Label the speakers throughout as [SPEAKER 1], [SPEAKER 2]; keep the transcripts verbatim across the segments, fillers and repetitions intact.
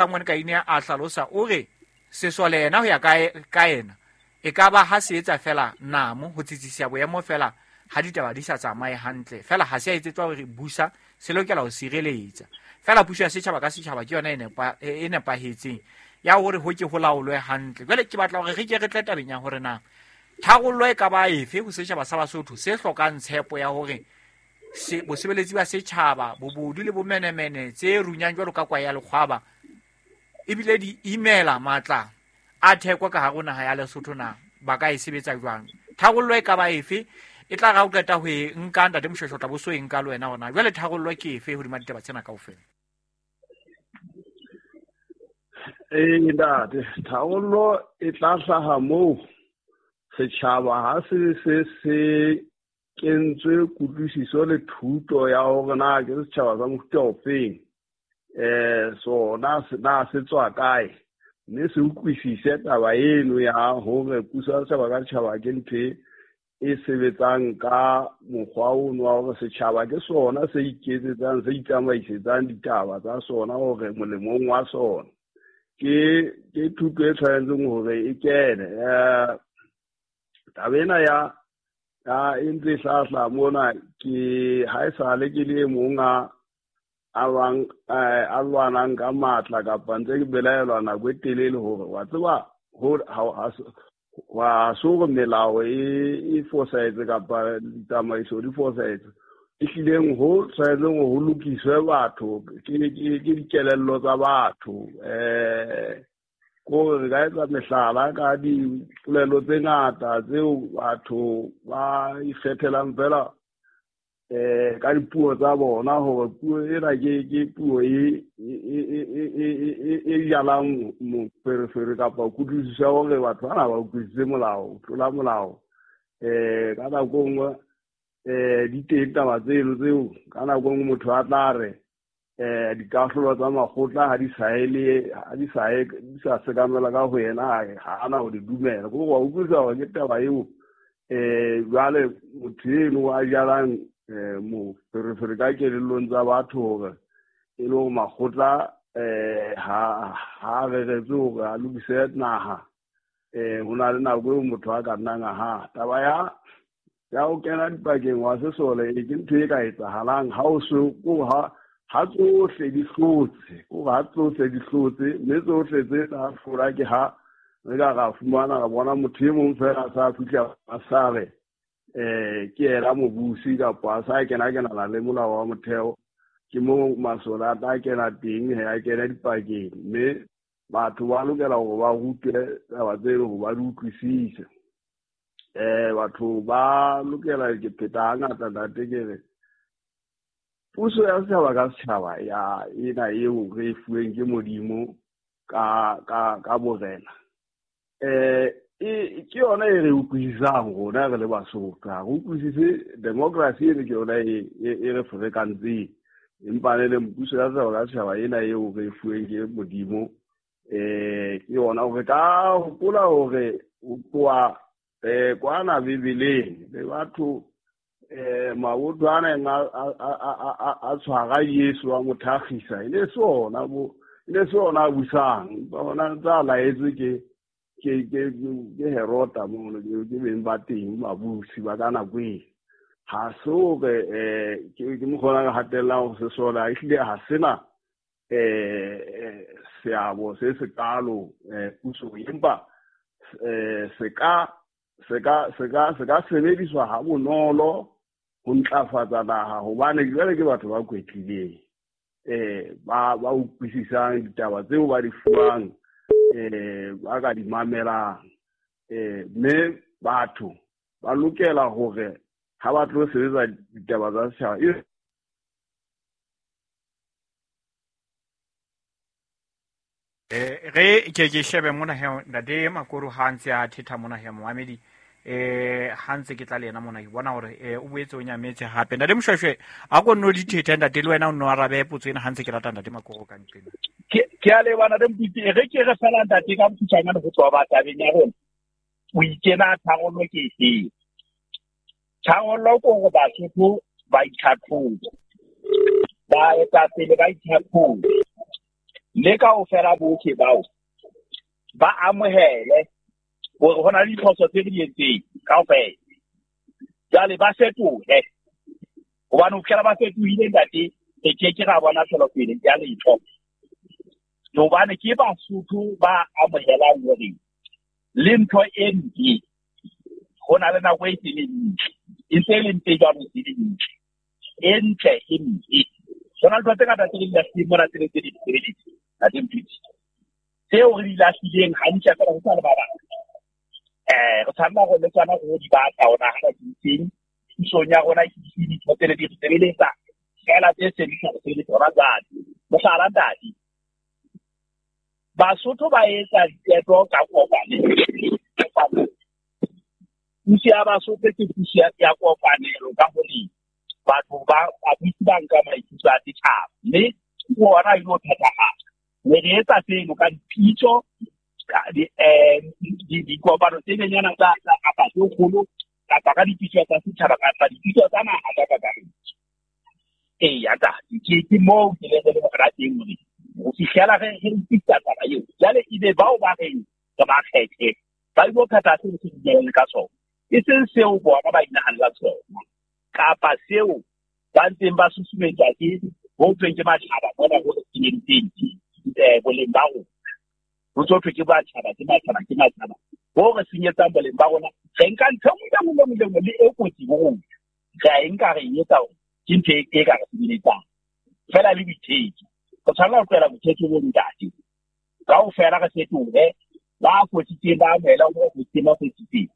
[SPEAKER 1] Samuel Kaine a hlalosa o re sesole yena ho ya ka ka yena e ka ba ha se etsa fela namo ho tsitsisa boemo fela ha ditaba di sa tsamaye hantle fela ha se a etsetswa hore busa se lokela ho sireletsa fela puso ya setjhaba ka setjhaba ke yona e nepa e nepahetseng ya hore ho ke ho laolwe hantle. Jwale ke batla hore re ke re tle tabeng ya hore na tharollo e ka ba efe ho setjhaba sa Basotho se hlokang tshepo ya hore se bosebeletsi ba setjhaba bobodu le bomenemene tse runyang jwalo ka kwae ya lekgwaba ebile di imela matla a theko ka hare naha ya Lesotho na ba ka e sebetsa jwang. Tharollo e ka ba efe e tla ra o qeta ho e nka ntate Moshweshwe tla bo so e nka le wena hona jwale tharollo ke efe hodima ditaba tsena kaofela?
[SPEAKER 2] Ee ntate, tharollo e tla hlaha moo setjhaba ha se se se kentswe kutlwisiso le thuto ya hore na ke setjhaba sa mofuta ofeng, eh sona na se tswa kae, mme se utlwisise taba eno ya hore puso ya setjhaba ka setjhaba ke ntho e sebetsang ka mokgwa ono wa hore setjhaba ke sona se iketsetsang, se itsamaisetsang ditaba tsa sona hore molemong wa sona. Ke ke thuto e tshwanetseng hore e kene. Eh taba ena ya ya e ntse e hlahla mona ke ha esale ke le e mong a a bang a lwanang ka matla kapa ntse ke belaelwa nako e telele hore wa tseba ha wa so hore melao e e fosahetse kapa ditsamaiso di fosahetse, ehlileng ho tshwanetseng ho lokiswe batho ke ke dikelello tsa batho. Eh ko re ka etsa mehlala ka dipolelo tse ngata tseo batho ba ikgethelang fela eh ka dipuo tsa bona hore puo ena ke ke puo e e e jalang moferefere kapa kutlwisiso ya hore batho bana ba utlwisise molao, tlola molao. Eh ka nako e nngwe eh di teng taba tseno tseo ka nako e nngwe motho a tla re eh dikahlolo tsa makgotla ha di sa ele ha di sa e di sa sekamela ka ho yena ha ana ho di dumela. Ko wa utlwisisa hore ke taba eo eh jwale motho eno a jalang eh moferefere ka kelellong tsa batho hore e le hore makgotla eh ha ha reretswe hore a lokise naha. Eh ho na le nako eo motho a ka nnang a ha taba ya ya ho kena dipakeng wa sesole ke ntho e ka etsahalang ha o so ko ha ha tsohle di hlotse, ko ha tsohle di hlotse mme tsohle tse tla hlola ke ha re ka ra fumana ra bona motho e mong fela a sa fihla a sa re eh ke yena mobusi kapa a sa kena kenana le molao wa motheo, ke moo masole a tla kena teng he a kena dipakeng mme batho ba lokela hore ba rutwe taba tseno hore ba di utlwisise. Eh batho ba lokela ke pheta hangata ntate ke re puso ya setjhaba ka setjhaba ya ena eo re e fuweng ke Modimo ka ka ka borena eh e ke yona e re utlwisisang rona re le Basotho. Ha re utlwisise democracy ene ke yona e e re ferekantseng, empa le puso ya setjhaba ka setjhaba ena eo re e fuweng ke Modimo eh ke yona hore ka hopola hore o tloha eh kwana Bibeleng le batho eh mabotho ana a a tshwara Jesu wa mo thakgisa e ne se ona bo e ne se ona a busang, ba bona tsa laetswe ke ke ke ke Herota mono ke beng ba teng babusi ba ka nako eo. Ha se hore eh ke ke mokgona re hatellang ho sesole ehlile ha sena eh seabo se sekalo eh pusong, empa eh se ka se ka se ka se ka sebediswa ha bonolo ho ntlafatsa naha hobane jwale ke batho ba kwetlileng eh ba ba utlwisisang ditaba tseo ba di fuwang eh ba ka di mamelang eh mme batho ba lokela hore ha ba tlo sebetsa ditaba tsa setjhaba.
[SPEAKER 1] Eh re ke ke shebe mona he ntate Makoro ha ntse a thetha mona he momamedi eh ha ntse ke tla le yena mona ke bona hore eh o boetse o nyametse hape. Ntate Moshweshwe a ko nno di thetha ntate le wena o nno arabe potso ena ha ntse ke rata ntate Makoro ka nqena.
[SPEAKER 3] Ke ke a lebana re mpitse re ke re fela ntate ka bokgutshwanyane ho tswa ba tabeng ya rona. O ikena tharollo ke efe? Tharollo ke hore Basotho ba itlhatlhobe. Ba etapele ba itlhatlhobe. Mme kaofela bohle bao ba amohele hore ho na le diphoso tse re di entseng kaofela. Jwale ba fetohe, hobane ho fihlela ba fetohile ntate, re keke ra bona tswelopele ya letho. Hobane ke Basotho ba amohelang hore le ntho e mpe ho na le nako e seng ntle, e ntse e le mpe jwalo e le ntle, e ntle e mpe. Ho na le ntho tse ngata tse re di lahlileng mona tse tse di sebeletsa ntate Mpiti, tseo re di lahlileng hantle fela ho sa le ba bang. Eh, re tshwanela hore le tsona re di batla ho nahana ke itseng pusong ya rona ke dintho tse di re sebeletsa fela tse seng di sa re sebeletse hona jwale. Mohlala ntate, Basotho ba etsa diqeto ka kopanelo. Puso ya Basotho ke puso ya kopanelo ka hore batho ba babusi ba nka maikutlo a setjhaba, mme ke hona e lo phethahala. Re re etsa seno ka dipitso, dikopano tse nyenyana tsa kapa tse kgolo, kapa ka dipitso tsa setjhaba kapa dipitso tsa naha ka kakaretso. Eya ntate, ke ke moo ke leng re le hona teng hore ho fihlela re re utlwisisa taba eo. Jwale ebe bao ba reng re ba kgethe, ba ilo phetha seo se dumelane ka sona, e seng seo bona ba inahanela sona, kapa seo ba ntseng ba susumetswa ke ho thweng ke matjhaba mona ho re senyeditseng boleng ba rona. Ho tso thwe ke matjhaba, ke matjhaba, ke matjhaba ho re senyetsang boleng ba rona. Re nka ntho e nngwe le nngwe le nngwe le e kotsi ho rona, re a e nka re e etsa hore ke ntho e ka re sebeletsang fela le boithetso. Re tshwanela ho tlohela boithetso bo ntate kaofela, re fetohe. Ba fositseng ba amohele hore fositseng ba fositseng,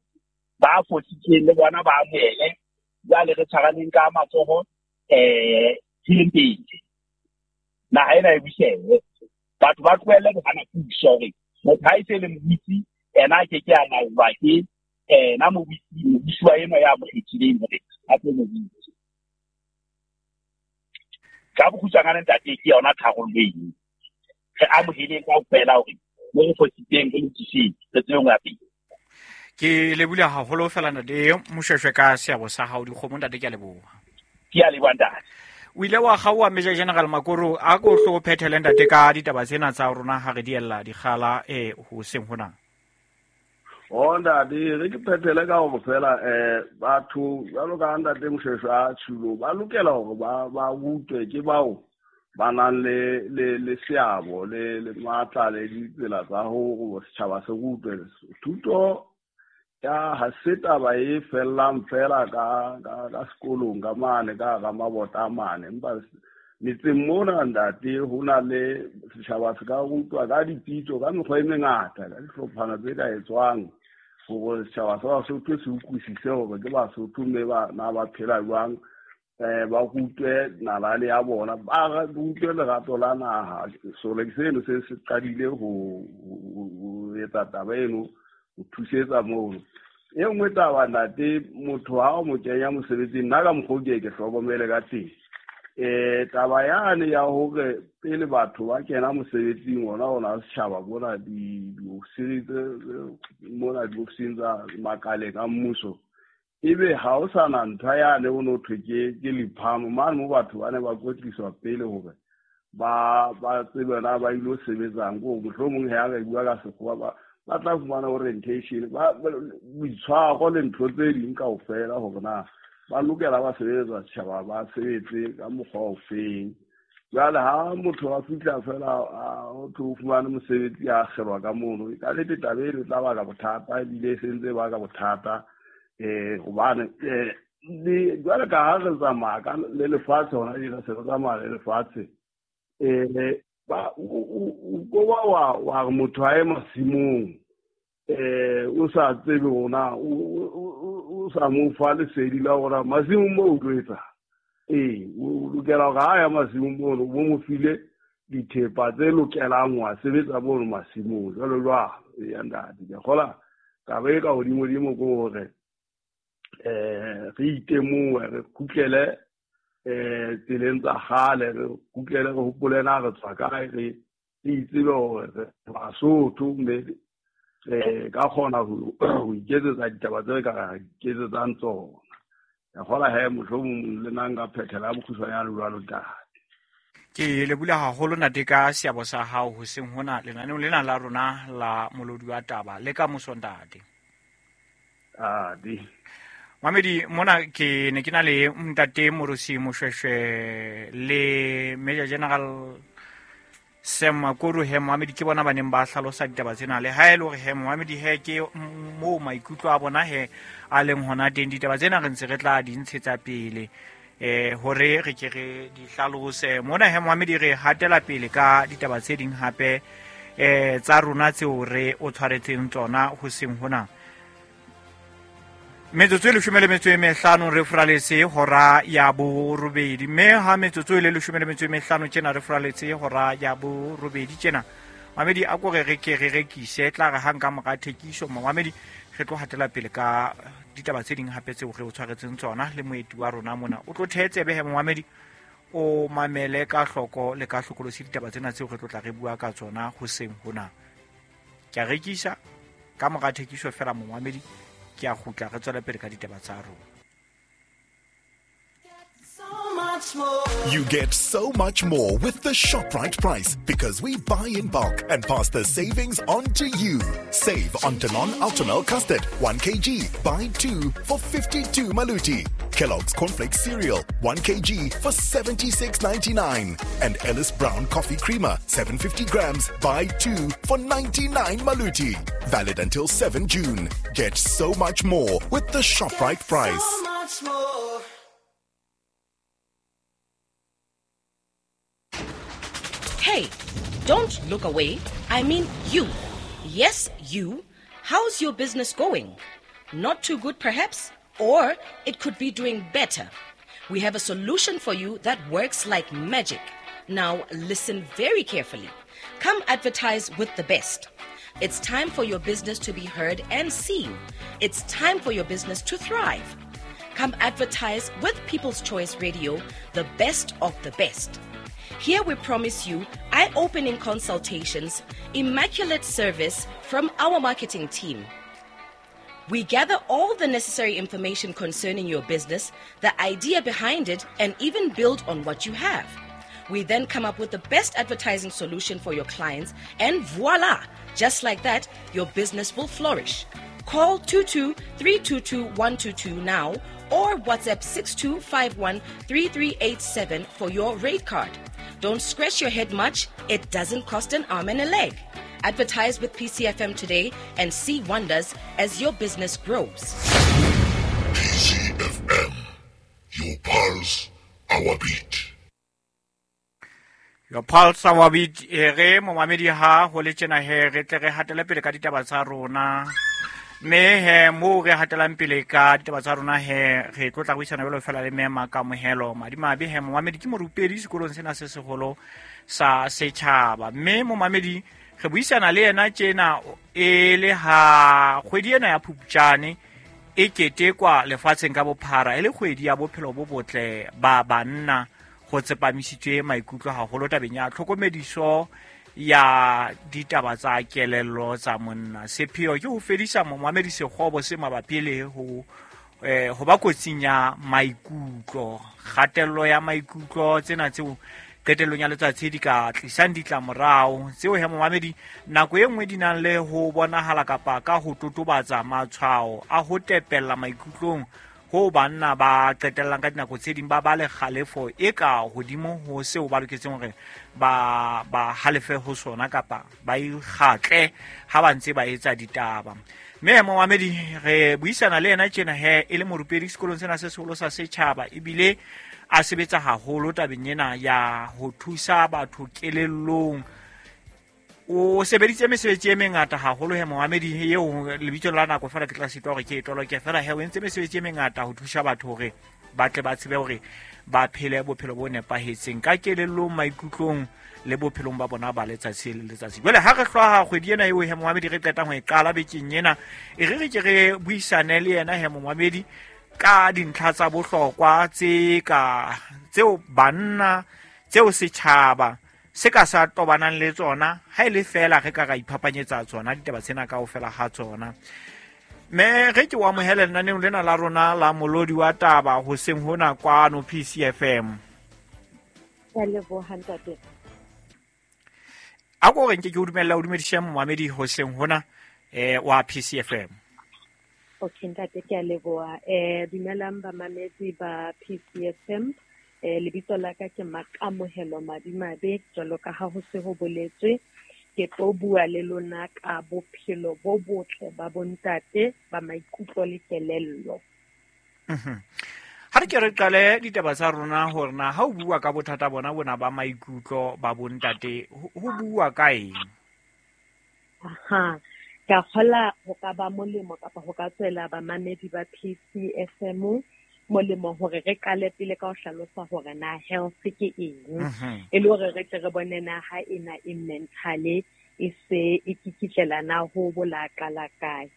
[SPEAKER 3] ba fositseng le bona ba amohele. Jwale re tshwaraneng ka matsoho, eh tseleng pele naha ena e busehe. Batho ba tlohelle ho hana puso hore motho ha e se le mobusi, ena a keke a laolwa ke ena mobusi, mobusi wa enwa ya mo kgethileng hore a tlo mo busa. Ka bokgutshwanyane ntate, ke yona tharollo eno. Re amoheleng kaofela hore mo re fositseng re lokiseng, re tsebe ho ya pele.
[SPEAKER 1] Ke lebohile haholo fela ntate Moshweshwe ka seabo sa hao dikgomo ntate, ke a leboha.
[SPEAKER 3] Ke a leboha ntate.
[SPEAKER 1] O ile wa kgaoha Major General Makoro, a ko hlo phethele ntate ka ditaba tsena tsa rona ha re diella dikgala eh hoseng hona.
[SPEAKER 2] O ntate, re ke phethele ka hore fela eh batho jwalo ka ntate Moshweshwe a tshilo ba lokela hore ba ba rutwe ke bao ba nang le le le seabo le le matla le ditsela tsa hore setjhaba se rutwe. Thuto ya ha se taba e fellang fela ka ka ka sekolong ka mane ka ka mabota a mane, empa metseng mona ntate ho na le setjhaba se ka rutwa ka dipitso ka mekgwa e mengata, ka dihlophana tse ka etswang hore setjhaba sa Basotho se utlwisise hore ke Basotho mme ba na ba phela jwang, eh ba rutwe nalane ya bona, ba rutwe lerato la naha. Sole seno se se qadile ho ho etsa taba eno, ho thusetsa mono. E nngwe taba ntate, motho ha o mo kenya mosebetsing, nna ka mokgwa o ke ke hlokomele ka teng. Eh taba yane ya hore pele batho ba kena mosebetsing ona ona setjhaba mona di-ofisiri tse mona diofising tsa makaleng a mmuso, ebe ha o sa na ntho yane o no thwe ke ke liphamo mane mo batho ba ne ba kwetliswa pele hore ba ba tsebe na ba ilo sebetsang ko mohlomong ha re bua ka sekgowa ba ba tla fumana orientation, ba boitshwaro le ntho tse ding kaofela hore na ba lokela ba sebetsa setjhaba ba sebetse ka mokgwa ofeng. Jwale ha motho a fihla fela o tlo fumana mosebetsi a kgelwa ka mono, ka nnete taba eno e tla baka bothata, ebile e sentse e baka bothata. Eh hobane eh jwale ka ha re tsamaya ka le lefatshe hona tjena, se re tsamaya le lefatshe, eh ba o ko ba wa wa re motho a ye masimong eh o sa tsebe hona o sa mo fa lesedi la hore masimong moo o tlo etsa. Ee, o lokela hore ha ya masimong mono o mo file dithepa tse lokelang ho sebetsa mono masimong jwalo jwalo. Eya ntate, ke kgola taba e ka hodimodimo ke hore eh re itemohe, re kgutlele eh tseleng tsa kgale, re kgutlele re hopole na re tswa kae, re re itsebe hore re Basotho mme re ka kgona ho iketsetsa ditaba tse re ka re iketsetsang tsona. Ke kgola he mohlomong le nna nka phethela bokgutshwanyane jwalo ntate.
[SPEAKER 1] Ke lebohile haholo ntate ka seabo sa hao hoseng hona lenaneong lena la rona la Molodi wa Taba le ka moso ntate.
[SPEAKER 2] Adi.
[SPEAKER 1] Mamedi mona ke ne ke na le ntate Moorosi Moshoeshoe le Major General Sam Makoru he Mohamedi ke bona ba neng ba hlalosa ditaba tsena le ha e le hore he Mohamedi he ke moo maikutlo a bona he a leng hona teng. Ditaba tsena re ntse re tla di ntshetsa pele eh hore re ke re di hlalose mona he Mohamedi. Re hatela pele ka ditaba tse ding hape eh tsa rona tseo re o tshwaretseng tsona hoseng hona. Metsotso e leshome le metso e mehlano re furaletse hora ya borobedi, mme ha metsotso e le leshome le metso e mehlano tjena re furaletse hora ya borobedi tjena Mamedi a ko re re ke re rekise tla re hang ka mora thekiso Mamedi re tlo hatela pele ka ditaba tse ding hape tseo re o tshwaretseng tsona le moeti wa rona mona. O tlo thetsebe he Mamedi, o mamele ka hloko le ka hlokolosi ditaba tsena tseo re tlo tla re bua ka tsona hoseng hona. Ke a rekisa ka mora thekiso fela Mamedi, ke a kgutla re tswela pele ka ditaba tsa rona.
[SPEAKER 4] You get so much more with the ShopRite price because we buy in bulk and pass the savings on to you. Save on Danone Ultramel Custard, one kilogram, buy two for fifty-two maluti. Kellogg's Cornflakes Cereal, one kilogram for seventy-six ninety-nine. And Ellis Brown Coffee Creamer, seven hundred fifty grams, buy two for ninety-nine maluti. Valid until seventh June. Get so much more with the ShopRite price.
[SPEAKER 5] So much more.
[SPEAKER 6] Hey, don't look away. I mean you. Yes, you. How's your business going? Not too good, perhaps? Or it could be doing better. We have a solution for you that works like magic. Now, listen very carefully. Come advertise with the best. It's time for your business to be heard and seen. It's time for your business to thrive. Come advertise with People's Choice Radio, the best of the best. Here we promise you eye-opening consultations, immaculate service from our marketing team. We gather all the necessary information concerning your business, the idea behind it, and even build on what you have. We then come up with the best advertising solution for your clients, and voila! Just like that, your business will flourish. Call two two three two two one two two now or WhatsApp six two five one three three eight seven for your rate card. Don't scratch your head much. It doesn't cost an arm and a leg. Advertise with P C F M today and see wonders as your business grows.
[SPEAKER 7] P C F M, your pulse, our beat.
[SPEAKER 1] Your pulse, our beat. E re momamedi ha ho le tjena he re tle re hatele pele ka ditaba tsa rona. Me he mo re hatelang pele ka ditaba tsa rona he re tlo tla buisana jwalo fela le mme Makamohelo Madimabe he momamedi ke morupedi sekolong sena se seholo sa setjhaba. Mme momamedi re buisana le yena tjena e le ha kgwedi ena ya Phupjane e ketekwa lefatsheng ka bophara e le kgwedi ya bophelo bo botle ba banna, go tsepamisitswe maikutlo haholo tabeng ya tlhokomediso ya ditaba tsa kelello tsa monna. Sepheo ke ho fedisa momamedi sekgobo se mabapi le ho eh ho ba kotsing ya maikutlo, kgatello ya maikutlo tsena tseo qetellong ya letsatsi di ka tlisang ditlamorao tseo he momamedi nako e nngwe di nang le ho bonahala kapa ka ho totobatsa matshwao a ho tepella maikutlong ho banna ba qetellang ka dinako tse ding ba ba le kgalefo e ka hodimo ho seo ba loketseng hore ba ba halefe ho sona kapa ba ikgatle ha ba ntse ba etsa ditaba. Mme momamedi re buisana le yena tjena he e le morupedi sekolong sena se seholo sa setjhaba ebile a sebetsa haholo tabeng ena ya ho thusa batho kelellong. O sebeditse mesebetsi e mengata haholo he momamedi eo lebitso la nako fela ke tla sitwa hore ke e toloke fela he o entse mesebetsi e mengata ho thusa batho hore ba tle ba tsebe hore ba phele bophelo bo nepahetseng ka kelellong, maikutlong le bophelong ba bona ba letsatsi le letsatsi. Jwale ha re hlwaha kgwedi ena eo he momamedi re qetang ho e qala bekeng ena, e re re ke re buisane le yena he momamedi ka dintlha tsa bohlokwa tse ka tseo banna tseo setjhaba se ka sa tobanang le tsona ha e le fela re ka ra iphapanyetsa tsona ditaba tsena kaofela ha tsona. Mme re ke o amohele lenaneong lena la rona la Molodi wa Taba hoseng hona kwano P C F M.
[SPEAKER 5] Ke a leboha ntate.
[SPEAKER 1] A ko re nke ke o dumella o dumedise momamedi hoseng hona eh wa P C F M.
[SPEAKER 5] Okay ntate, ke a leboha. Eh dumelang bamamedi ba P C F M. Eh lebitso la ka ke Makamohelo Madimabe, jwalo ka ha ho se ho boletswe. Ke tlo bua le lona ka bophelo bo botle ba bontate ba maikutlo le kelello.
[SPEAKER 1] Mhm. Ha re ke re qale ditaba tsa rona hore na ha o bua ka bothata bona bona ba maikutlo ba bontate ho bua ka eng?
[SPEAKER 5] Aha. Ka kgola ho ka ba molemo kapa ho ka tswela bamamedi ba P C F M molemo hore re qale pele ka ho hlalosa hore na health ke eng. E le hore re tle re bone na ha ena e mentally e se e kikitlela na ho bola qala kae.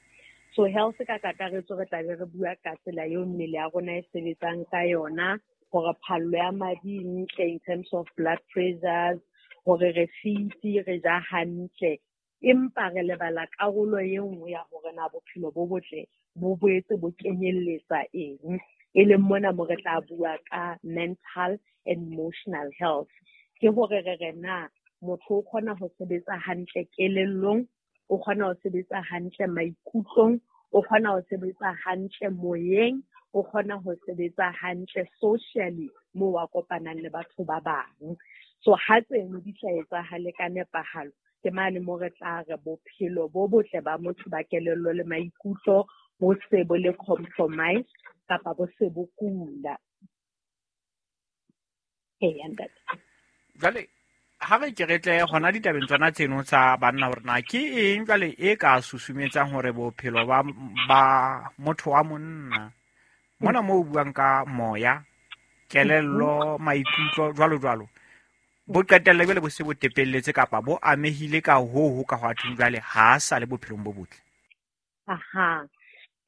[SPEAKER 5] So health ka kakaretso re tla be re bua ka tsela eo mmele ya rona e sebetsang ka yona, hore phallo ya madi e ntle in terms of blood pressures, hore re fit, re ja hantle. Empa re lebala karolo e nngwe ya hore na bophelo bo botle bo boetse bo kenyelletsa eng. E leng mona mo re tla bua ka mental and emotional health. Ke hore re re na motho o kgona ho sebetsa hantle kelellong, o kgona ho sebetsa hantle maikutlong, o kgona ho sebetsa hantle moyeng, o kgona ho sebetsa hantle socially moo a kopanang le batho ba bang. So ha tseno di sa etsahale ka nepahalo, ke mane mo re tla re bophelo bo botle ba motho ba kelello le maikutlo bo se bo le compromise kapa bo se bo kula. Ee, ntate.
[SPEAKER 1] Jwale ha re ke re tle hona ditabeng tsona tseno tsa banna hore na ke eng jwale e ka susumetsang hore bophelo ba ba motho wa monna mona mo o buang ka moya, kelello, maikutlo jwalo jwalo bo qetelle jwale bo se bo tepelletse kapa bo amehile ka ho ho ka hwa thung jwale ha a sa le bophelong bo botle.
[SPEAKER 5] Aha.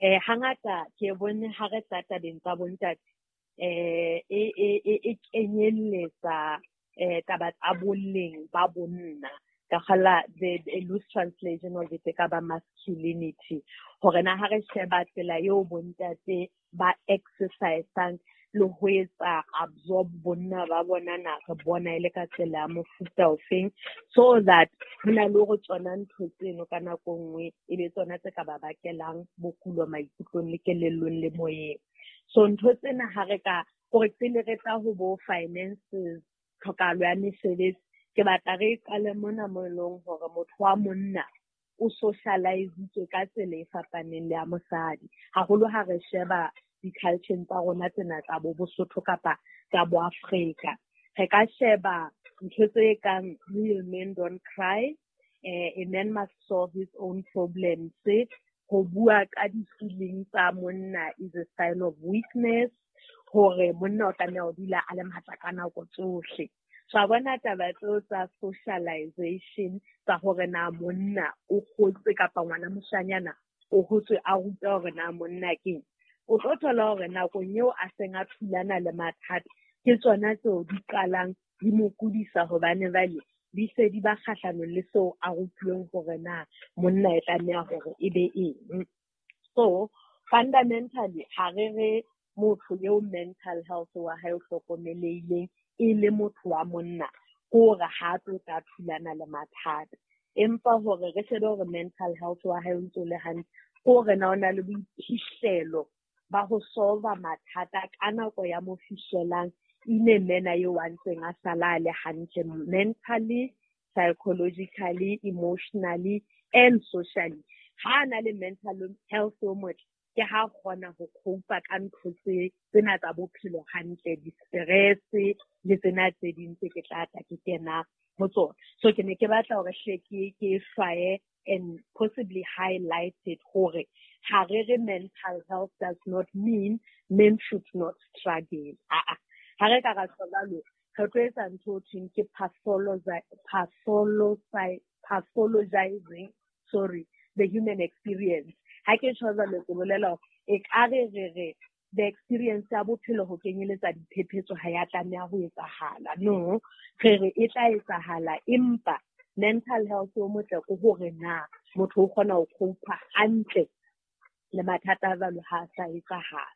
[SPEAKER 5] Eh hangata ke bone ha re tla tabeng tsa bontate eh e e e kenyelletsa eh taba tsa boleng ba bonna. Ka kgala the loose translation of it ka ba masculinity, hore na ha re sheba tsela eo bontate ba exercisang le ho etsa absorb bonna ba bona na re bona e le ka tsela ya mofuta ofeng, so that ho na le hore tsona ntho tseno ka nako nngwe e be tsona tse ka ba bakelang bokulo maikutlong le kelellong le moyeng. So ntho tsena ha re ka hore pele re tla ho bo finances, tlhokahalo ya mesebetsi, ke batla re qale mona mo e leng hore motho wa monna o socialize-itswe ka tsela e fapaneng le ya mosadi. Haholo ha re sheba di-culture tsa rona tsena tsa bo Bosotho kapa tsa bo Afrika. Re ka sheba ntho tse kang real men don't cry, eh, a man must solve his own problems, ho bua ka di-feeling tsa monna is a sign of weakness, hore monna o tlameha ho dula a le matla ka nako tsohle. So a bona taba tseo tsa socialization tsa hore na monna o hotse kapa ngwana moshanyana o hotse a rutwa hore na monna keng. O tlo thola hore nakong eo a seng a thulana le mathata ke tsona tseo di qalang di mo kudisa, hobane bale di se di ba kgahlanong le seo a rutuweng hore na monna e tlameha hore e be eng. So fundamentally ha re re motho eo mental health wa hae o hlokomelehileng e le motho wa monna ke hore ha tlo tla thulana le mathata, empa hore re shebe hore mental health wa hae o ntso le hantle ke hore na o na le boiphihlelo ba ho solve mathata ka nako ya mo fihlelang in a manner eo a ntseng a sala a le hantle mentally, psychologically, emotionally and socially. Ha a na le mental health o motle ke ha kgona ho cope ka ntho tse tsena tsa bophelo hantle, di-stress le tsena tse ding tse ke tla tla ke kena ho tsona. So ke ne ke batla hore hle ke ke hlwaye and possibly highlight it hore ha re re mental health does not mean men should not struggle. Ah, ha re ka ra tshwalo re tlo etsa ntho ho thweng ke pathologizing, sorry, the human experience. Ha ke tjho jwalo ke bolela hore e ka re re re the experience ya bophelo ho kenyeletsa diphephetso ha ya tlameha ho etsahala. No, re re e tla etsahala, empa mental health o motle ke hore na motho o kgona ho cope hantle le mathata a jwalo ha sa etsahala.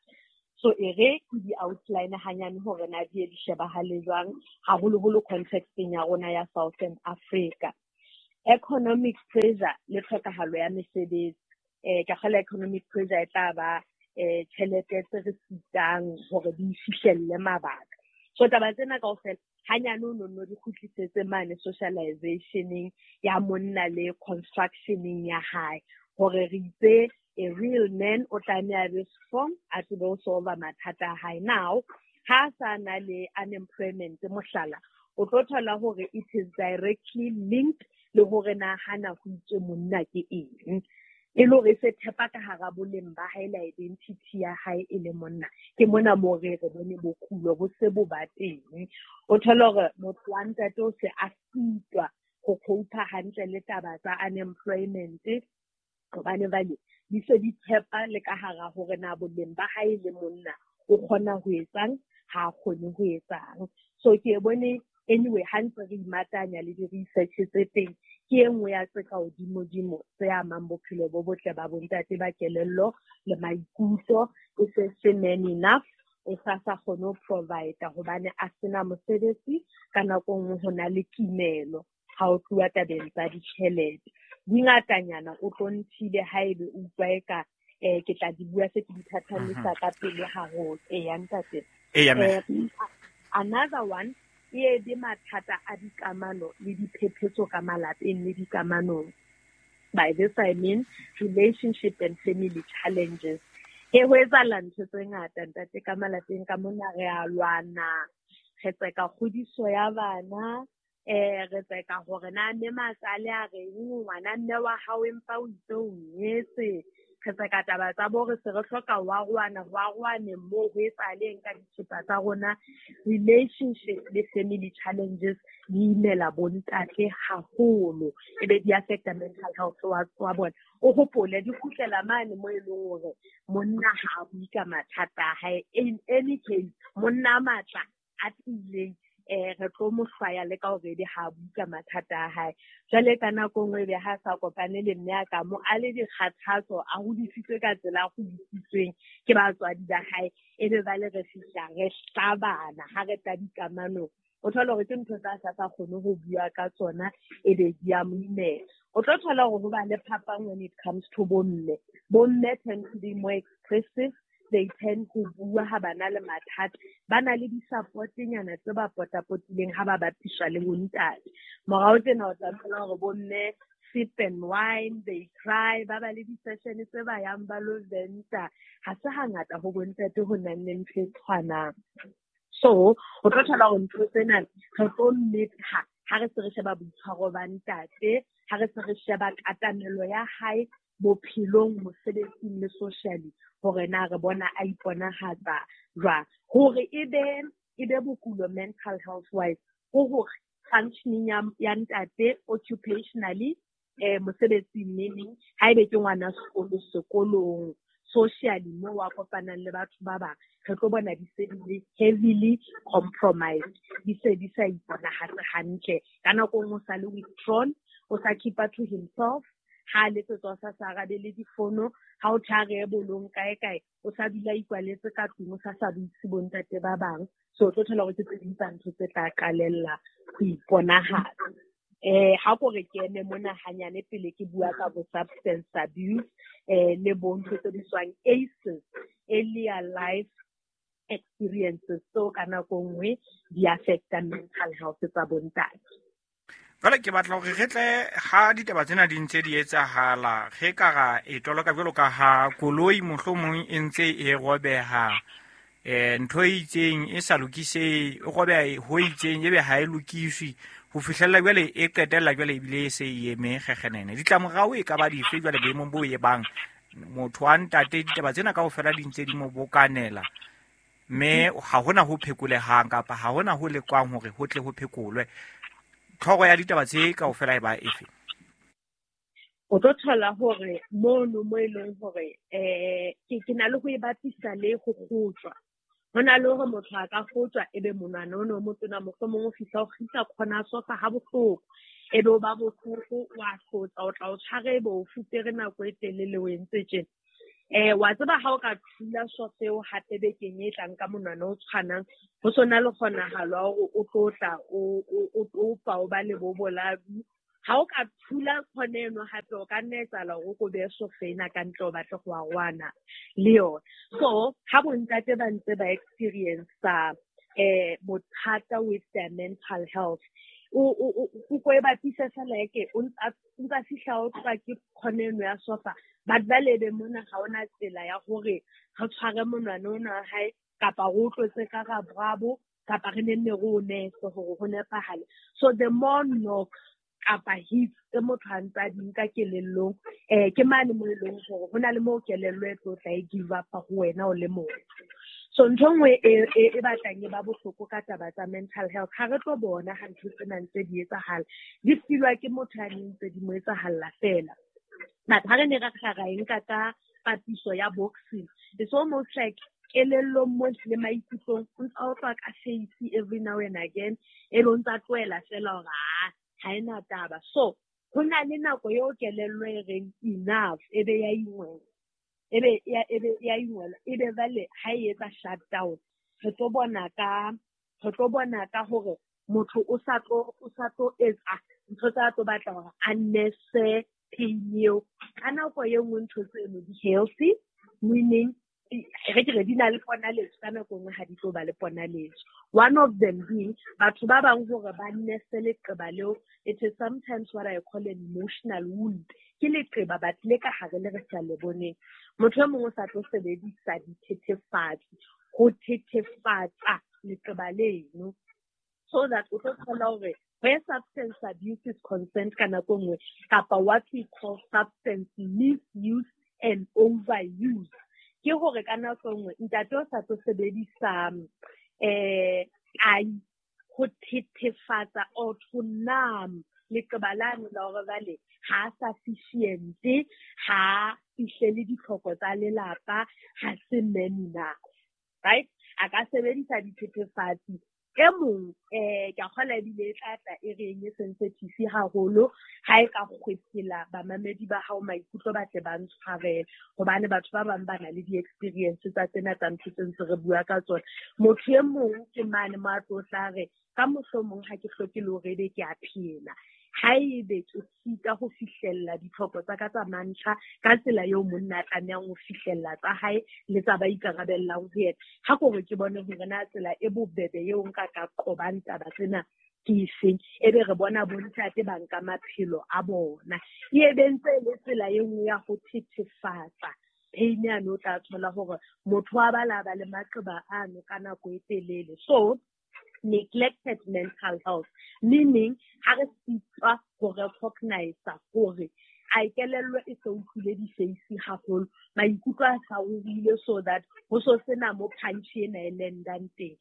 [SPEAKER 5] So e re ke di-outline hanyane hore na di ye di shebahale jwang, haholoholo contexteng ya rona ya Southern Africa. Economic pressure le tlhokahalo ya mesebetsi. Eh, ka kgola economic pressure e tla ba eh tjhelete tse re sitang hore di fihlelle mabaka. So taba tsena kaofela hanyane o nonno di kgutlisetse mane socializationeng ya monna le constructioneng ya hae, hore re itse a real man o tlameha be strong, a tsebe ho solve mathata a hae. Now ha sa na le unemployment mohlala, o tlo thola hore it is directly linked le hore na hana ho itswe monna ke eng, e le hore e se thepa ka hara boleng ba hae le identity ya hae e le monna. Ke mona moo re re bone bokulo bo se bo ba teng. O thole hore motho wa ntate o se a sitwa ho cope hantle le taba tsa unemployment, hobane bale di se di thepa le ka hara hore na boleng ba hae le monna o kgona ho etsang, ha kgone ho etsang. So ke bone anyway ha ntse re imatanya le di-research tse teng, ke e nngwe ya tse ka hodimodimo tse amang bophelo bo botle ba bontate ba kelello le maikutlo. E se se man enough, e sa sa kgone ho provide hobane a sena mosebetsi. Ka nako nngwe ho na le kimelo ha o tluwa tabeng tsa ditjhelete. Di ngatanyana, o tlo nthile haebe o utlwa eka eh ke tla di bua se ke di thathamisa ka pele haholo. Eya ntate.
[SPEAKER 1] Eya mme.
[SPEAKER 5] Another one e be mathata a dikamano le diphephetso ka malapeng le dikamanong. By this I mean relationship and family challenges. E ho etsahala ntho tse ngata ntate ka malapeng ka mona, re a lwana, re tseka kgodiso ya bana, eh re tseka hore na mme matsale a reng ngwana mme wa hao empa o itse o nyetse. Re tseka taba tsa bo re se re hloka wa rwana wa rwane moo ho etsahaleng ka dithepa tsa rona. Relationship le family challenges di imela bontate haholo, ebe di affecta mental health wa wa bona. O hopole di kgutlela mane mo e leng hore monna ha a bue ka mathata a hae. In any case, monna a matla a tiileng, eh re tlo mo hlwaya le ka hore ebe ha bue ka mathata a hae. Jwale ka nako nngwe ebe ha sa kopane le mme a ka mo a le dikgathatso, a hodisitswe ka tsela a hodisitsweng ke batswadi ba hae, ebe ba le re fihla re hlabana ha re tla dikamanong. O thole hore ke ntho tsa sa sa kgone ho bua ka tsona, ebe di a mo imela. O tlo thola hore ho ba le phapang when it comes to bomme. Bomme tend to be more expressive, they tend to bua ha ba na le mathata, ba na le di-support-nyana tse ba potapotileng ha ba bapiswa le bontate. Morao tjena o tla thola hore bomme sip and wine, they cry, ba ba le di-session tse ba yang ba lo venta. Ha se hangata ho bontate ho nang le ntho e tshwanang. So o tlo thola hore ntho tsena re tlo metha ha re se re sheba boitshwaro ba ntate, ha re se re sheba katamelo ya hae bophelong, mosebetsing le socially, hore na re bona a iponahatsa jwang. Hore ebe ebe bokulo mental health wise, ho hore functioning ya, ya ntate occupationally, eh mosebetsing meaning haebe ke ngwana sekolo sekolong, socially mo wa kopanang le batho ba bang, re tlo bona di se di le heavily compromised, di se di sa iponahatse hantle. Ka nako nngwe o sa le withdrawn, o sa keep-a to himself, ha letsetswa sa sa arabele difono, ha o tshare bolong kae kae, o sa dula ikwaletse ka tlung, o sa sa buise bontate ba bang. So o tlo thola hore ke tse ding tsa ntho tse tla qalella ho iponahatsa. Eh ha ko re ke eme mona hanyane pele ke bua ka bo substance abuse, eh le bo ntho tse bitswang A C E S, earlier life experiences, so ka nako nngwe di affecta mental health tsa bontate.
[SPEAKER 1] Jwale ke batla hore re tle ha ditaba tsena di ntse di etsahala, re ka ra e toloka jwalo ka ha koloi mohlomong e ntse e robeha, eh ntho e itseng e sa lokise, e robeha ho itseng ebe ha e lokiswe ho fihlella jwale e qetella jwale ebile e se e eme kgekgenene. Ditlamorao e ka ba dife jwale boemong bo e bang motho wa ntate ditaba tsena kaofela di ntse di mo bokanela, mme ha hona ho phekolehang kapa ha hona ho lekwang hore ho tle ho phekolwe? Tlhoro ya ditaba tse kaofela e ba efe?
[SPEAKER 5] O tlo thola hore mono mo e leng hore eh ke ke na le ho e bapisa le ho kgotjwa. Ho na le hore motho a ka kgotjwa ebe monwana ono o motona mohlomong o fihla o kgitla khona sofa ha bohloko, ebe o ba bohloko wa hlotsa, o tla o tshware ebe o futere nako e telele o entse tjena. Eh wa tseba ha o ka thula sofa eo hape bekeng e tlang ka monwana o tshwanang, ho sona le kgonahalo ya hore o tlo tla o o o pa o ba le boboladu. Ha o ka thula khone eno hape o ka nna etsahala hore o ko behe sofa ena ka ntle o batle go arohana le yona. So ha bontate ba ntse ba experience eh bothata with their mental health, o o o ko e bapisa fela eke o ntsa fihla o tloha ke khone eno ya sofa, but jwale ebe mona ha ona tsela ya hore re tshware monwana ona wa hae kapa re o tlotse ka rabrabo kapa re nenne re o nese hore ho nepahale. So the more knocks kapa hits tse motho a ntsa di nka kelellong, eh ke mane mo e leng hore ho na le moo kelello e tlo tla e give up ho wena o le motho. So ntho e nngwe e e batlang e ba bohloko ka taba tsa mental health, ha re tlo bona ha ntho tsena ntse di etsahala, di filwa ke motho a neng ntse di mo etsahalla fela. But ha re ne re ra e nka ka papiso ya boxing, it's almost like kelellong mo le maikutlong o ntsa o tswa ka face every now and again, e be o ntsa tlohela fela hore ah ha ena taba. So ho na le nako eo kelello e reng enough, e be ya ingwela, e be ya e be ya ingwela, e be jwale ha e etsa shutdown. Re tlo bona ka re tlo bona ka hore motho o sa tlo o sa tlo etsa ntho tsa tlo batla hore a nese pain eo. Ka nako e nngwe ntho tseno di healthy, meaning re ke re di na le ponaletso, ka nako e nngwe ha di tlo ba le ponaletso. One of them being batho ba bang hore ba nese leqeba leo, it is sometimes what I call an emotional wound. Ke leqeba but le ka hare le re sa le boneng. Motho e mong o sa tlo sebedisa dithethefatsi ho thethefatsa leqeba leno, so that o tlo thola hore where substance abuse is concerned ka nako e nngwe, kapa what we call substance misuse and overuse, ke hore ka nako e nngwe ntate o sa tlo sebedisa eh ai ho thethefatsa or to numb leqeba lano la hore jwale ha sufficient, ha fihlele ditlhoko tsa lelapa, ha se man enough, right? A ka sebedisa dithethefatsi. E mong eh ke a kgola ebile e tla tla e reng e sensitive haholo ha e ka kgwetela bamamedi ba hao maikutlo ba tle ba ntshwarele, hobane batho ba bang ba na le di-experience tsa tsena tsa ntho tse ntse re bua ka tsona. Motho e mong ke mane mo a tlo tla re ka mohlomong ha ke hloke le hore ebe ke a phela, haebe ke sita ho fihlella ditlhoko tsa ka tsa mantlha ka tsela eo monna a tlamehang ho fihlella tsa hae le tsa ba ikarabellang ho yena, ha ke hore ke bone hore na tsela e bobebe eo nka ka qobang taba tsena ke efeng, ebe re bona bontate ba nka maphelo a bona. E ebe ntse e le tsela e nngwe ya ho thethefatsa pain yane, o tla thola hore motho wa ba la ba le maqeba ano ka nako e telele. So neglected mental health, meaning ha re sitwa ho recognize hore a kelello e se utlwile di-face haholo, maikutlo a sa ruile, so that ho so sena mo punch ena e lendang teng.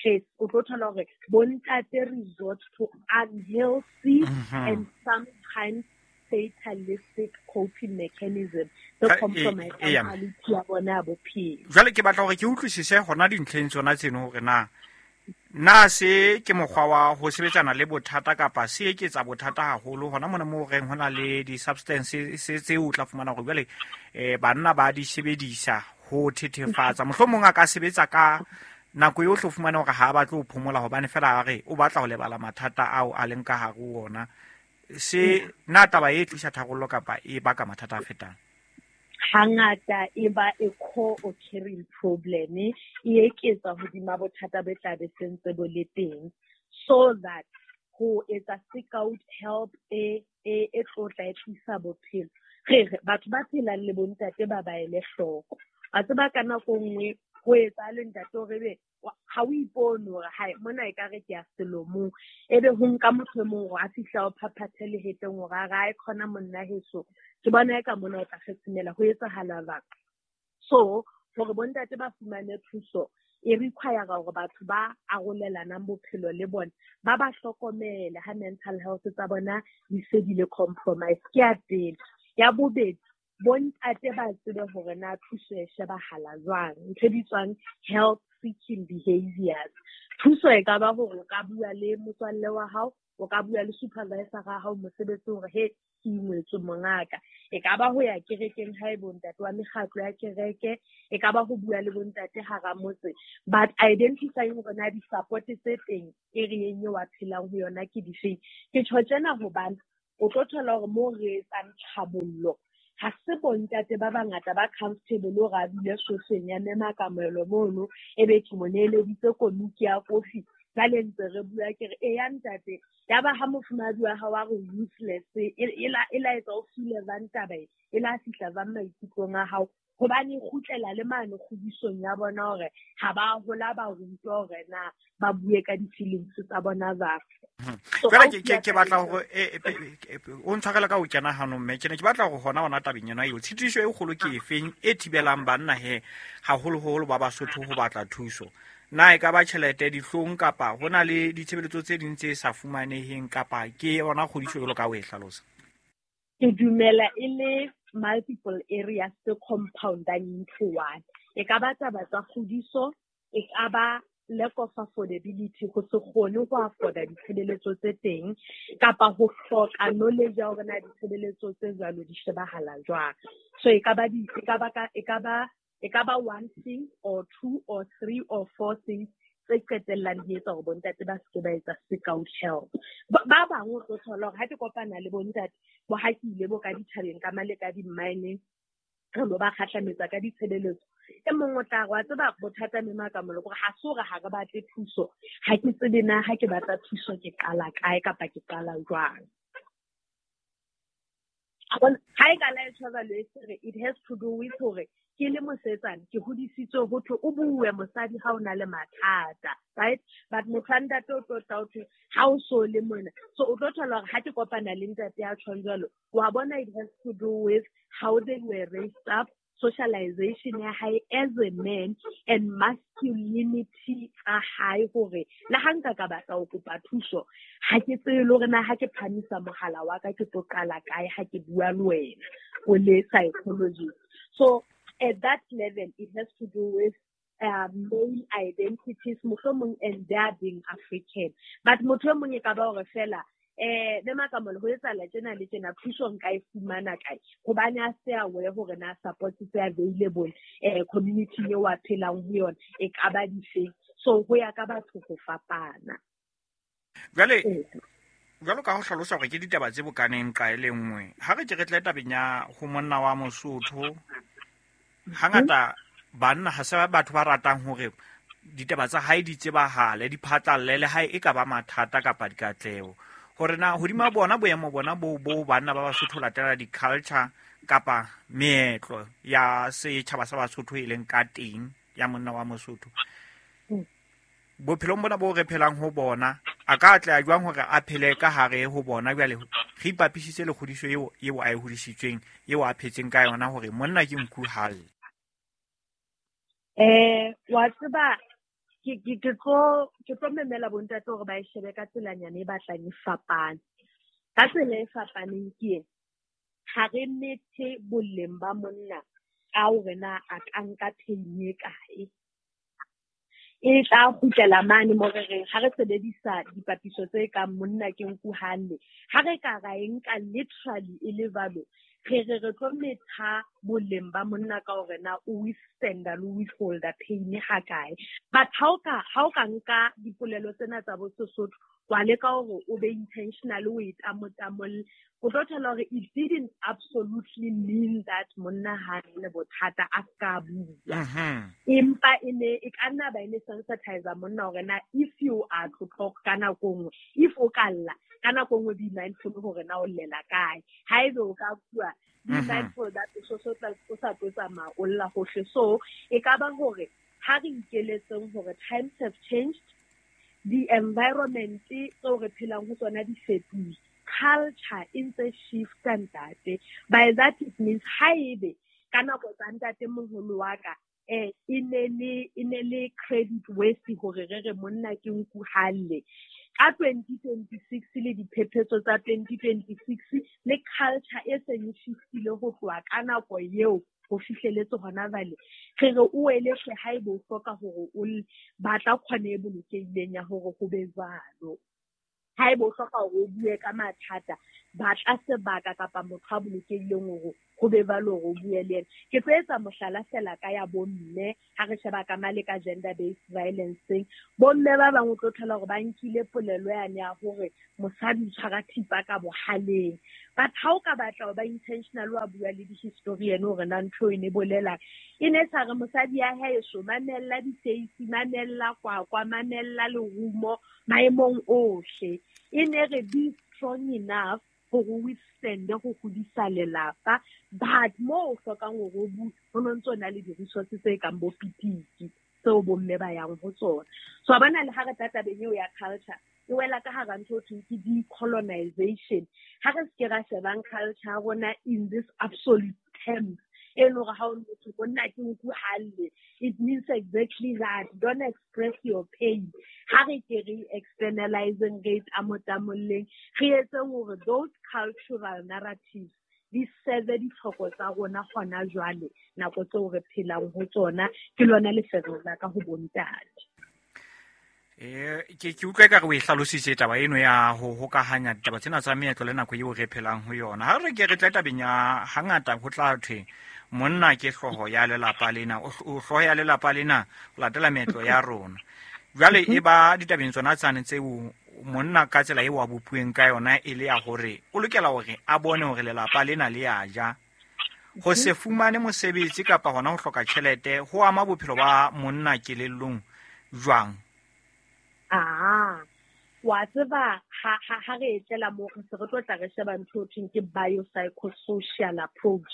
[SPEAKER 5] Re o tlo thola hore bontate resort to unhealthy and sometimes fatalistic coping mechanism to compromise quality ya bona ya bophelo.
[SPEAKER 1] Jwale ke batla hore ke utlwisise hona dintlheng tsona tseno hore na na se ke mokgwa wa ho sebetsana le bothata kapa se eketsa bothata haholo hona mona mo reng hona le di-substance se tseo o tla fumana hore jwale eh banna ba di sebedisa ho thethefatsa. Mohlomong a ka sebetsa ka nako yohle, o fumana hore ha ba tlo phomola hobane fela a re o batla ho lebala mathata ao a leng ka hare ho ona. Se na taba e tlisa tharollo kapa e baka mathata a fetang?
[SPEAKER 5] Hangata e ba a co-occurring problem, e eketsa hodima bothata bo tla be sentse bo le teng, so that ho etsa seek out help e e e tlo tla e tlisa bophelo. Re re batho ba phelang le bontate ba ba ele hloko, a tseba ka nako nngwe ho etsa le ntate hore ebe ha o ipone hore hae mona ekare ke ya selomong, ebe ho nka motho e mong hore a fihla o phaphathe lehetleng hore a re ae khona monna heso, ke bona eka mona o tla kgetshemela, ho etsahala jwang. So hore bontate ba fumane thuso e require hore batho ba arolelanang bophelo le bona ba ba hlokomele ha mental health tsa bona di se di le compromise. Ke ya pele. Ya bobedi, bontate ba tsebe hore na thuso e shebahala jwang, ntho e bitswang health seeking behaviors. Thuso e ka ba hore o ka bua le motswalle wa hao, o ka bua le supervisor ya hao mosebetsing hore he ke ingwetswe mongaka. E ka ba ho ya kerekeng ha e bontate wa mekgatlo ya kereke, e ka ba ho bua le bontate hara motse, but identifying hore na di-support tse teng area-eng eo a phelang ho yona ke difeng. Ke tjho tjena hobane o tlo thola hore moo re etsang tlhabollo ha se bontate ba bangata ba comfortable hore a dule sofeng ya mme Makamohelo mono, ebe ke mo neeleditse komiki ya kofi, jwale ntse re bua ke re eya ntate, ya ba ha mofumahadi wa hao a re useless, e la e la etsa o feel jwang taba e, e la fihla jwang maikutlong a hao, hobane e kgutlela le mane kgodisong ya bona hore ha ba hola ba rutwa hore na ba bue ka di-feelings tsa bona jwang.
[SPEAKER 1] Fela ke ke ke batla hore o ntshwarele ka ho kena hanong mme ke ne ke batla hore hona hona tabeng ena eo tshitiso e kgolo ke efeng e thibelang banna he haholoholo ba Basotho ho batla thuso. Na e ka ba tjhelete, dihlong, kapa ho na le ditshebeletso tse ding tse sa fumaneheng, kapa ke yona kgodiso jwalo ka o e hlalosa?
[SPEAKER 5] Ke dumela e le multiple areas tse compoundang into one. E ka ba taba tsa kgodiso, e ka ba lack of affordability, ho se kgone ho afforda ditshebeletso tse teng, kapa ho hloka knowledge ya hore na ditshebeletso tse jwalo di shebahala jwang. So e ka ba di, e ka ba ka, e ka ba, e ka ba one thing or two or three or four things tse qetellang di etsa hore bontate ba seke ba etsa seek out help. Ba bang o tlo thola hore ha ke kopana le bontate bo ha ke ile bo ka dithabeng ka male ka di-mineng, re lo ba kgahlametsa ka ditshebeletso. E mong o tla re wa tseba bothata mme Makamohelo kore ha se hore ha re batle thuso, ha ke tsebe na ha ke batla thuso ke qala kae kapa ke qala jwang. Ha e ka la e tshwara le se re it has to do with hore ke le mosetsana ke hodisitswe ho thwe o bue mosadi ha o na le mathata, right? But motho wa ntate o tlo tla o thwe ha o so le mona. So o tlo thola hore ha ke kopana le ntate ya tjhong jwalo, wa bona it has to do with how they were raised up, socialization ya hae as a man and masculinity tsa hae, hore le ha nka ka batla ho kopa thuso ha ke tsebe le hore na ha ke phamisa mohala wa ka ke tlo qala kae ha ke bua le wena o le psychologist. So at that level, it has to do with uh, male identities, mohlomong, and their being African. But motho e mong e ka ba hore fela eh mme Makamohelo ho etsahala tjena le tjena, thuso nka e fumana kae, hobane a se aware hore na support tse available eh community eo a phelang ho yona e ka ba difeng. So ho ya ka batho ho fapana.
[SPEAKER 1] Jwale jwalo ka ho hlalosa hore ke ditaba tse bokaneng ka e le nngwe, ha re ke re tle tabeng ya ho monna wa Mosotho, hangata banna ha se batho ba ratang hore ditaba tsa hae di tsebahale, di phatlalle, le hae e ka ba mathata kapa dikatleho. Hore na hodima bona boemo bona bo bo banna ba Basotho latela di-culture kapa meetlo ya setjhaba sa Basotho e leng ka teng ya monna wa Mosotho, bophelong bona bo re phelang ho bona, a ka atleha jwang hore a phele ka hare ho bona? Jwale re ipapisitse le kgodiso eo eo a e hodisitsweng, eo a phetseng ka yona, hore monna ke nku halle.
[SPEAKER 5] Eh wa tseba ke ke ke tlo ke tlo memela bontate hore ba e shebe ka tselanyana e batlang e fapane. Ka tsela e fapaneng ke ena, ha re methe boleng ba monna ka hore na a ka nka pain e kae. E tla kgutlela mane mo re reng ha re sebedisa dipapiso tse kang monna ke nku halle, ha re ka ra e nka literally e le jwalo, re re re tlo metha boleng ba monna ka hore na o withstanda le withholda pain ha kae. But ha o ka ha o ka nka dipolelo tsena tsa bo Sesotho wa leka hore o be intentional, o e tamotamolle, o tlo thola hore it didn't absolutely mean that monna ha le bothata a ska bua. Empa e ne e ka nna ba e ne sensitizer monna hore na if you are to talk ka nako nngwe, if o ka lla ka nako nngwe, be mindful hore na o llela kae. Haebe o ka bua, be mindful that o so tla o sa tlo tsamaya o lla hohle. So e ka ba hore ha re ikeletseng hore times have changed, the environment tseo re phelang ho tsona di fetohile, culture e ntse shifta ntate. By that it means haebe ka nako tsa ntate moholo wa ka eh e ne le e ne le credit worthy hore re re monna ke nku halle, ka twenty twenty-six le diphephetso tsa twenty twenty-six le culture e seng e shiftile ho tloha ka nako eo ho fihleletse hona jwale, re re o wele hle haebe o hloka hore o batla kgone e bolokehileng ya hore ho be jwalo. Haeba o hloka hore o bue ka mathata, Batla sebaka kapa motho a bolokehileng hore ho be ba le hore o bue le yena. Ke tlo etsa mohlala fela ka ya bomme ha re sheba ka male ka gender based violence. Bomme ba bang o tlo thola hore ba nkile polelo yane ya hore mosadi o tshwara thipa ka bohaleng. But ha o ka batla ho ba intentional wa bua le di-historian hore na ntho e ne bolela, e ne sa re mosadi ya haeso mamella difeisi, mamella kwakwa, mamella lerumo maemong ohle. E ne re be strong enough hore withstand ho hodisa lelapa, but mo o hlokang hore o bue ho no ntso na le di-resources tse kang bo pitiki tseo bomme ba yang ho tsona. So bana le ha re tla tabeng eo ya culture, e wela ka hara ntho ho thweng ke decolonization. Ha re se ke ra shebang culture ya rona in this absolute terms, e leng hore ha o motho monna ke nku halle, it means exactly that. Don't express your pain. Ha re ke re externalizing, re tamotamolleng, re etseng hore those cultural narratives di serve ditlhoko tsa rona hona jwale nako tseo re phelang ho tsona. Ke lona lefereo la ka ho bontate.
[SPEAKER 1] Eh ke ke utlwa ekare o e hlalositse taba eno ya ho hokahanya ditaba tsena tsa meetlo le nako eo re phelang ho yona. Ha re ke re tle tabeng ya hangata ho tla thwe monna ke hlooho ya lelapa lena, o hlooho ya lelapa lena ho latela meetlo ya rona. Jwale e ba ditabeng tsona tsane tseo monna ka tsela eo a bopuweng ka yona e le ya hore o lokela hore a bone hore lelapa lena le a ja. Ho se fumane mosebetsi kapa hona ho hloka tjhelete ho ama bophelo ba monna kelellong jwang?
[SPEAKER 5] Ah, wa tseba ha ha ha re etlela mo re se re tlo tla re sheba ntho ho thweng ke biopsychosocial approach.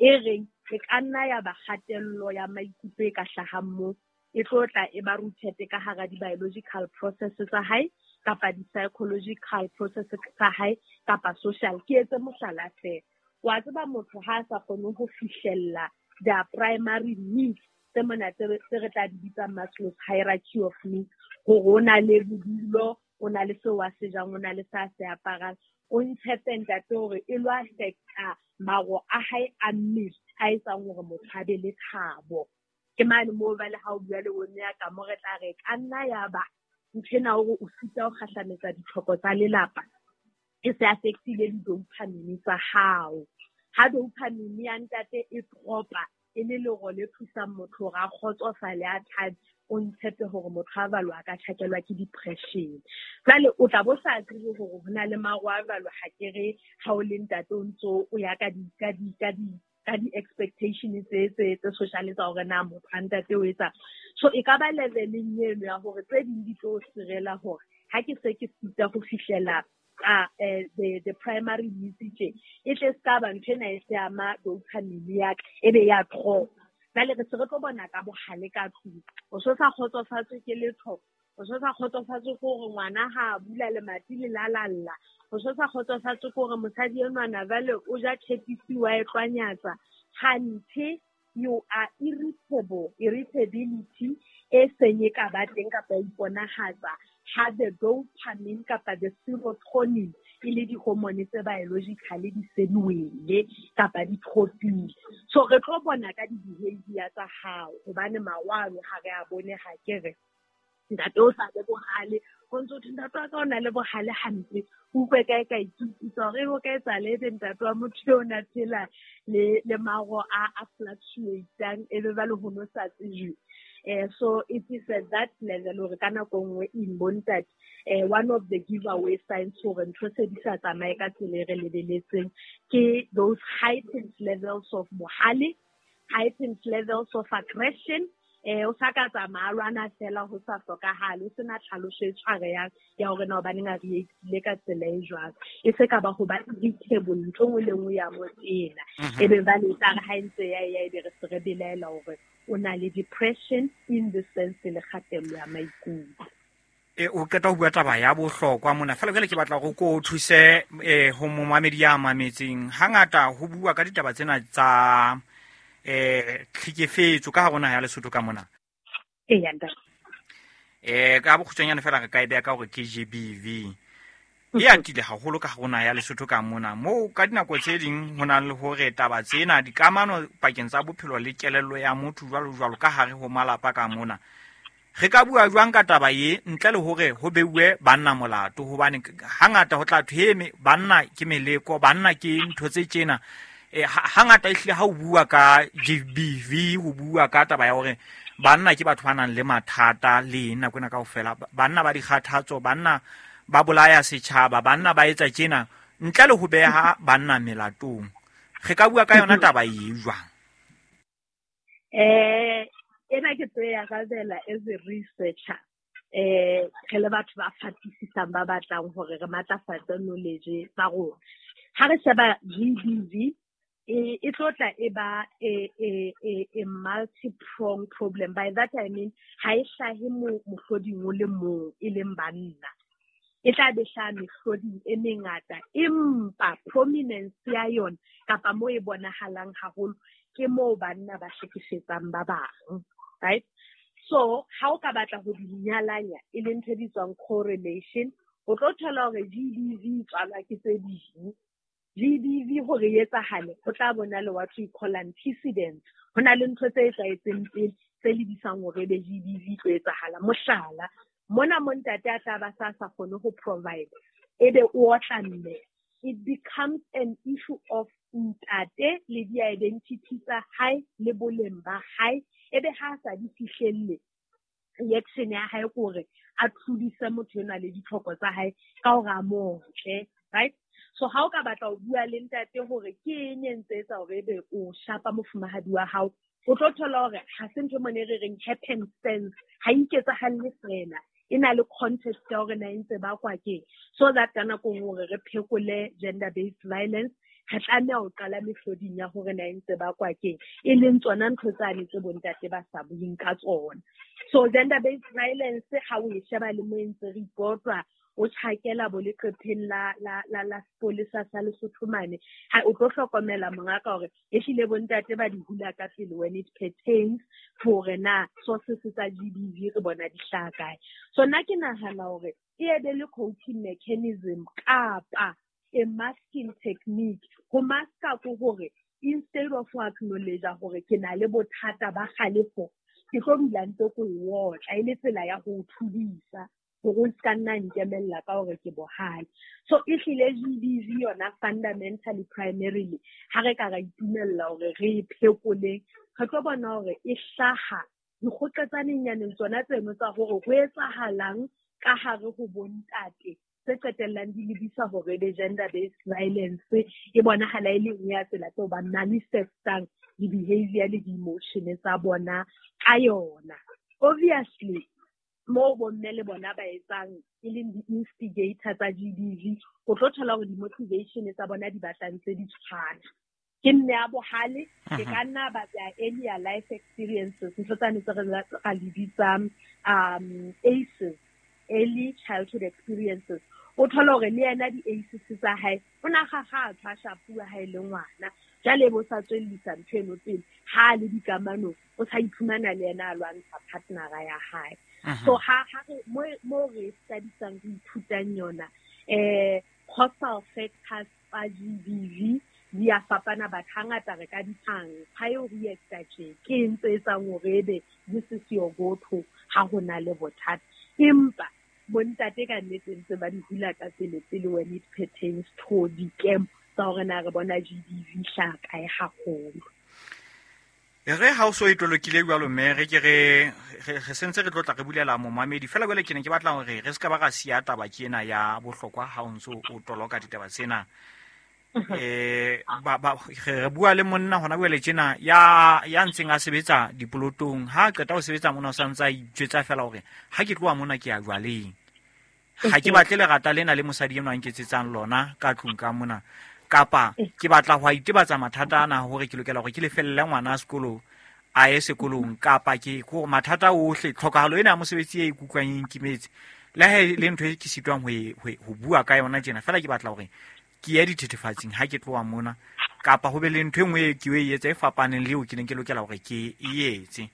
[SPEAKER 5] E reng e ka nna ya ba kgatello ya maikutlo e ka hlahang mo, e tlo tla e ba rooted ka hara di-biological processes tsa hae kapa di-psychological processes tsa hae kapa social. Ke etse mohlala feela. Wa tseba motho ha a sa kgone ho fihlella their primary needs tse mona tse re tla di bitsang Maslow's hierarchy of needs, hore o na le bodulo, o na le seo a se jang, o na le sa se aparang. O ntshepe ntate hore e lo affecta maro a hae a mmele a etsang hore motho a be le thabo. Ke mane moo ba le ha o bua le bomme ya ka mo re tla re ka nna ya ba ntho ena hore o sita ho kgahlametsa ditlhoko tsa lelapa e se affectile di-dopamine tsa hao. Ha dopamine ya ntate e dropa e le lero le thusang motho hore a kgotsofale a thabe, o ntshepe hore motho a jwalo a ka tjhakelwa ke depression. Jwale o tla bo sa tsebe hore ho na le maro a jwalo, ha ke re ha o le ntate o ntso o ya ka di ka di ka di ka di-expectation tse tse tse social tsa hore na motho a ntate o etsa. So e ka ba leveleng eno ya hore tse ding di tlo sirela hore ha ke se ke sita ho fihlela a eh, the the primary needs tje e tle ska ba ntho ena e se ama dopamine ya ka e be ya drop. Jwale re se re tlo bona ka bohale ka tlung, o so sa kgotsofatswe ke letho, o so sa kgotsofatswe ke hore ngwana ha a bula lemati le lalalla, o so sa kgotsofatswe ke hore mosadi enwana jwale o ja tjhepisi wa e tlwanyatsa. Hanthe you are irritable, irritability e seng e ka ba teng kapa e iponahatsa ha the dopamine kapa the serotonin e le di-hormone tse biologically di se di wele kapa di tropile. So re tlo bona ka di-behavior tsa hao, hobane mawano ha re a bone, ha ke re ntate o sa le bohale, ho ntso thwe ntate wa ka o na le bohale hampe, o utlwe kae ka ikutlwisisa hore ho ka etsahala ebe ntate wa motho eo na phela le le maro a a fluctuatang e be jwale ho no sa tsejwe. Eh, so it is at that level hore ka nako nngwe in bontate, eh, one of the giveaway signs hore ntho se di sa tsamaye ka tsela e re lebeletseng ke those heightened levels of bohale, heightened levels of aggression. Eh, o sa ka tsamaya lwana fela ho sa hlokahale, o sena tlhaloso e tshwarehang ya hore na hobaneng a react-ile ka tsela e jwang. E se ka ba ho ba irritable, ntho e nngwe le nngwe ya mo tena.
[SPEAKER 1] Mhm.
[SPEAKER 5] E be jwale e tla re ha e ntse ya ya, ebe re se re belaela hore o na le depression in the sense le kgatello ya maikutlo.
[SPEAKER 1] E o qeta ho bua taba ya bohlokwa mona fela jwale ke batla hore ko o thuse eh ho momamedi ya mametseng. Hangata ho bua ka ditaba tsena tsa eh tlhekefetso ka hare ho naha ya Lesotho ka mona.
[SPEAKER 5] Eya, ntate.
[SPEAKER 1] Eh ka bokgutshwanyane fela re ka e beha ka hore ke G B V. E atile haholo ka hare ho naha ya Lesotho ka mona, moo ka dinako tse ding ho nang le hore taba tsena dikamano pakeng tsa bophelo le kelello ya motho jwalo jwalo ka hare ho malapa ka mona. Re ka bua jwang ka taba ye ntle le hore ho beuwe banna molato, hobane hangata ho tla thwe he banna ke meleko, banna ke ntho tse tjena. E, hangata ehlile ha o bua ka G B V, ho bua ka taba ya hore banna ke batho ba nang le mathata le eng nako ena kaofela, banna ba dikgathatso, banna ba bolaya setjhaba, banna ba etsa tjena, ntle le ho beha banna melatong. Re ka bua ka yona taba e jwang?
[SPEAKER 5] Eh, ena ke tlo ya arabela as a researcher. Eh, re le batho ba fatisisang ba batlang hore re matlafatse knowledge tsa rona. Ha re sheba G B V, e e tlo tla e ba e e e e multi-pronged problem. By that I mean ha e hlahe mohloding o le mong e leng banna. E tla be hlaha mehloding e mengata, empa prominence ya yona kapa moo e bonahalang haholo ke moo banna ba hlekefetsang ba bang, right? So ha o ka batla ho di nyalanya e leng ntho e bitswang correlation, o tlo thola hore G B V e tswalwa ke tse ding. G B V hore e etsahale, ho tla bona le what we call antecedents. Ho na le ntho tse etsahetseng pele tse lebisang hore ebe G B V e tlo etsahala. Mohlala, mona mo ntate a tla ba sa sa kgone ho provide, ebe o otla mme. It becomes an issue of ntate le di-identity tsa hae le boleng ba hae. Ebe ha a sa di fihlelle, reaction ya hae ke hore a tlodise motho enwa le ditlhoko tsa hae ka hore a mo otle, right? So ha o ka batla ho bua le ntate hore ke eng e ntse etsa hore ebe o shapa mofumahadi wa hao, o tlo thola hore ha se ntho mone re reng happenstance, ha iketsahalle feela, e na le context ya hore na e ntse bakwa keng. So that ka nako nngwe hore re phekole gender based violence, re tlameha ho qala mehloding ya hore na e ntse bakwa keng, e leng tsona ntho tsane tse bontate ba sa bueng ka tsona. So gender based violence ha o e sheba le mo e ntse re ipotwa, o tjhakela bo leqepheng la la la la sepolesa sa Lesotho mane, ha o tlo hlokomela mongaka hore ehlile bontate ba di hula ka pele when it pertains to hore na sources tsa G B V re bona di hlaha kae. So nna ke nahana hore e ebe le coping mechanism kapa a masking technique. Ho maska ke hore instead of ho acknowledge hore ke na le bothata ba kgalefo, ke tlo dula ntse ke o otla, e le tsela ya ho o thudisa hore o ska nna nkemella ka hore ke bohale. So ehlile G B V yona fundamentally primarily ha re ka ra itumella hore re e phekoleng, re tlo bona hore e hlaha dikgoqetsaneng tsona tseno tsa hore ho etsahalang ka hare ho bontate tse qetellang di lebisa hore be gender based violence e bonahala e le nngwe ya tsela tseo ba manifestang di-behavior le di-emotion tsa bona ka yona. Obviously moo bomme le bona ba etsang e leng di-instigator tsa G B V, o tlo thola hore di-motivation tsa bona di batlang tse di tshwana. Ke mme a bohale, ke ka nna ba tsa earlier life experiences, ntho tsane tse re ra di bitsang um A C Es, early childhood experiences. O thola hore le yena di-A C Es tsa hae, o na kgakgathwa a shapuwa ha e le ngwana. Jwale bo sa tswellisa ntho eno pele, ha le dikamanong, o sa iphumana le yena a lwantsha partnera ya hae. So ha ha re mo mo re studyisang re ithutang yona, eh causal factors tsa G B V di a fapana, but hangata re ka di tang ha e o reacta tje ke eng tse etsang hore ebe this is your go to ha ho na le bothata. Empa bontate ka nnete ntse ba di hula ka pele pele when it pertains to dikemo tsa hore na re bona G B V hlaha kae haholo.
[SPEAKER 1] E re ha o so e tolokile jwalo mme re ke re re sentse re tlotla re bulela momamedi fela jwale ke ne ke batla hore re se ka ba ra siya taba ke ena ya bohlokwa ha o ntso o toloka ditaba tsena. Eh ba ba re bua le monna hona jwale tjena ya ya ntseng a sebetsa dipolotong, ha qeta ho sebetsa mona o santsa itjwetsa fela hore ha ke tloha mona ke ya jwaleng, ha ke batle lerata lena le mosadi enwa a nketsetsang lona ka tlung ka mona, kapa ke batla ho itebatsa mathata ana hore ke lokela hore ke lefelle ngwana sekolo a ye sekolong, kapa ke hore mathata ohle tlhokahalo ena ya mosebetsi e ikutlwang e nkimetse le ha le ntho e ke sitwang ho ho bua ka yona tjena, fela ke batla hore ke ye dithethefatsing ha ke tloha mona, kapa ho be le ntho e nngwe e ke e etsa e fapaneng le eo ke neng ke lokela hore ke e etse.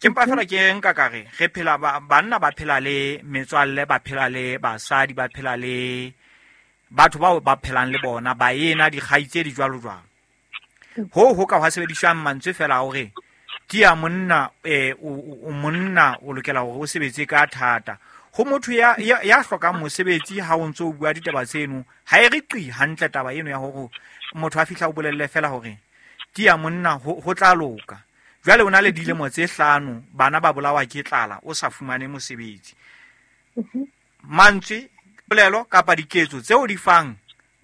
[SPEAKER 1] Ke mpa fela ke nka ka re re phela banna ba phela le metswalle, ba phela le basadi, ba phela le batho bao ba phelang le bona, baena, dikgaitsedi jwalo jwalo. Ho ho ka hwa sebediswang mantswe fela hore Tia monna eh o monna o lokela hore o sebetse ka thata. Ho motho ya ya hlokang mosebetsi ha o ntso o bua ditaba tseno, ha e re qi hantle taba eno ya hore motho a fihla o bolelle fela hore tia monna ho tla loka. Jwale o na le dilemo tse hlano bana ba bolawa ke tlala o sa fumane mosebetsi. Mantswe, polelo kapa diketso tseo di fang